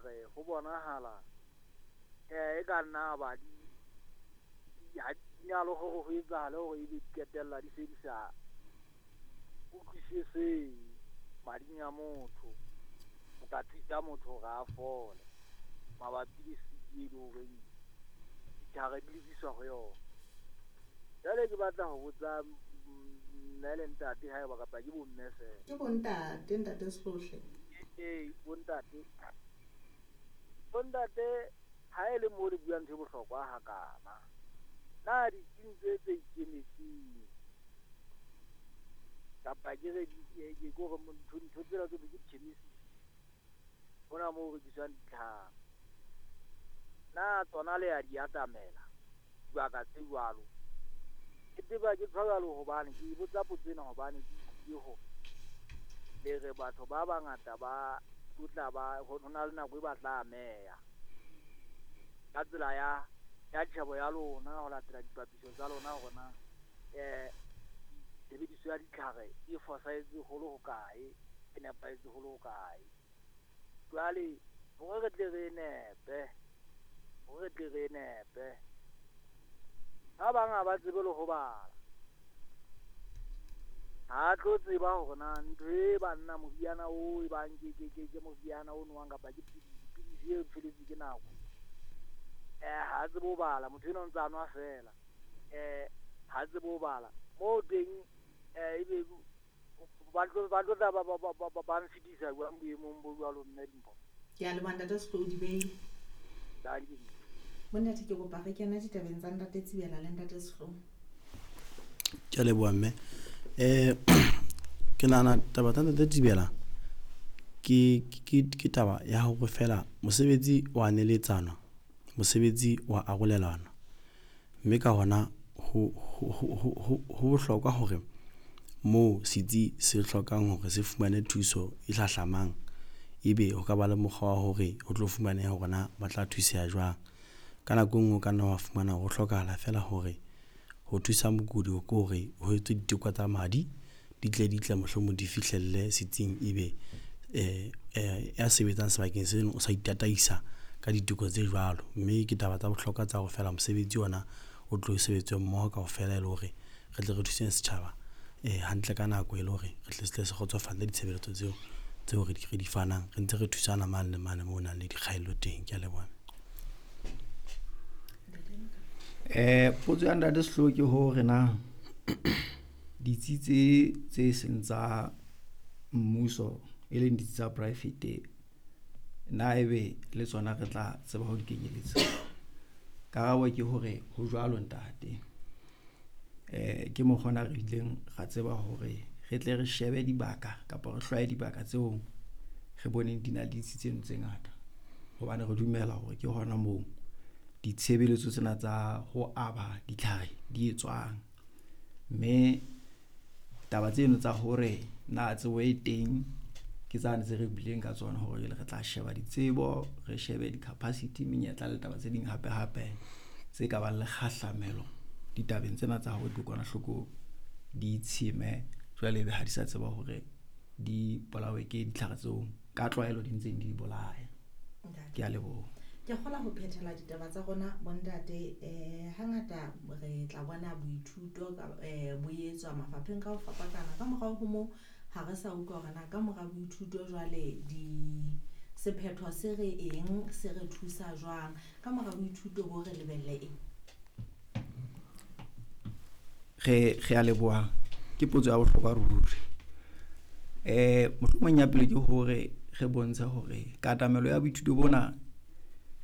Ditlhare ho bonahala e ka nna ba di ha di na le hore ho etsahale hore ebe di qetella di se di sa utlwisisehe mading a motho, ho ka thusa motho hore a fole mabapi le sick e leng horeng ditlhare di lebiswa ho yona. Jwale ke batla ho botsa mme le ntate haeba kapa ke bomme feela. Ke bontate, ntate Sehlohle. Ee, bontate. Bontate, ha e le mo le buang ntho e bohlokwa hakana, na ditsing tse tse ikemetseng kapa ke re ke hore ntho tsena tse ke di-chemist, hona moo ho rekiswang ditlhare, na tsona le ya di atamela dibaka tse jwalo? Ke tseba ke tjho jwalo hobane ke botsa potso ena hobane ke utlwile hore le re batho ba bangata ba tlo ba ho na le nako e ba tla ameha ka tsela ya tjhebo ya lona, ho latela dipapiso tsa lona hore na tshebediso ya ditlhare e fosahetse holo hokae, e nepahetse holo hokae. Jwale hore re tle re nepe, hore re tle re nepe, ba bang ha ba tsebe le ho bala, ha tlo tseba hore na ntho e banna moriana o e bang ke moriana o nowang kapa ke pidisi e feletswe ke nako. Ha tsebe ho bala, motho enwa o ntsa nwa feela, ha tsebe ho bala moo teng, ebe ba tlo tla ba nfetisa jwang boemong bo jwalo, mme Dimpho? Ke a leboha ntate Sehloho Dibei. Bontate, ke kopa re kene ditabeng tsa ntate Tsibela le ntate Sehloho. Ke a leboha mme. Ke nahana taba tsa ntate Tsibela ke taba ya hore feela mosebetsi wa neletsanwa, mosebetsi wa arolelanwa, mme ka hona ho bohlokwa hore moo setsi se hlokang hore se fumane thuso e hlahlamang, ebe ho ka ba le mokgwa wa hore ho tlo fumaneha hore na ba tla thuseha jwang. Ka nako e nngwe o ka nna wa fumana hore ho hlokahala feela hore ho thusa mokudi ke hore ho etswe diteko tsa madi, di tle mohlomong di fihlelle setsing, ebe ya sebetsang sebakeng seno o sa itataisa ka diteko tse jwalo. Mme ke taba tsa bohlokwa tsa hore feela mosebetsi ona o tlo sebetswe mmoho kaofela, e le hore re tle re thuseng setjhaba hantle ka nako, e le hore re tle se tle se kgotsofalle ditshebeletso tseo re di fanang, re ntse re thusana mane le mane moo ho nang le dikgaello teng. Ke a leboha. Potso ya ntate Sehloho ke hore na ditsi tse seng tsa mmuso e leng ditsi tsa private, na ebe le tsona re tla tseba ho di kenyeletsa? Karabo ke hore ho jwalo ntate. Ke mokgwa ona re ileng ra tseba hore re tle re shebe dibaka kapa re hlwaye dibaka tseo re boneng di na le ditsi tseno tse ngata, hobane re dumela hore ke hona moo ditshebeletso tsena tsa ho aba ditlhare di etswang. Mme taba tseno tsa hore na tsebo e teng ke tsane tse re buileng ka tsona, hore jwale re tla sheba ditsebo, re shebe di-capacity, menyetla le taba tse ding hape hape tse ka bang le kgahlamelo ditabeng tsena tsa hore dikokwanahloko di tsheme jwale ebe ha di sa tseba hore di bolawe ke ditlhare tseo ka tlwaelo di ntseng di bolaya. Ke a leboha. Ke kgola ho phethela ditaba tsa rona bontate. Hangata re tla bona boithuto bo etswa mafapheng ka ho fapakana. Ka morao ho moo ha re sa utlwa hore na ka mora boithuto jwale di sephetho se re eng, se re thusa jwang. Ka mora boithuto bo re lebelle eng? Re a leboha. Ke potso ya bohlokwa ruri. Mohlomong ya pele ke hore re bontshe hore katamelo ya boithuto bona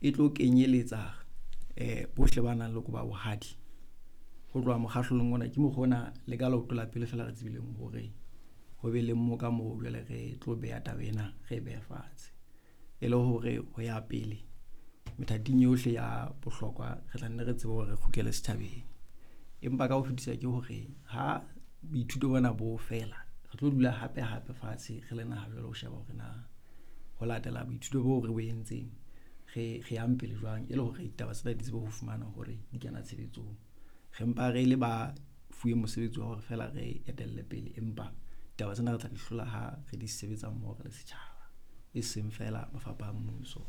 e tlo kenyeletsa bohle ba nang le koba bohadi ho tloha mokgahlelong ona. Ke mokgwa ona le ka leoto la pele feela re tsebileng hore ho be le mo ka moo jwale re tlo beha taba ena, re behe fatshe e le hore ho ya pele methating yohle ya bohlokwa re tla nne re tsebe hore re kgutlele setjhabeng. Empa ka ho fetisa ke hore ha boithuto bona bo fela, re tlo dula hape hape fatshe re le naha jwale ho sheba hore na ho latela boithuto bo re bo entseng re yang pele jwang, e le hore ditaba tsena di tsebe ho fumana hore di kena tshebetsong. Re mpa re le ba fuwe mosebetsi wa hore feela re etelle pele, empa ditaba tsena re tla di hlola ha re di sebetsa mmoho re le setjhaba, e seng feela mafapha a mmuso.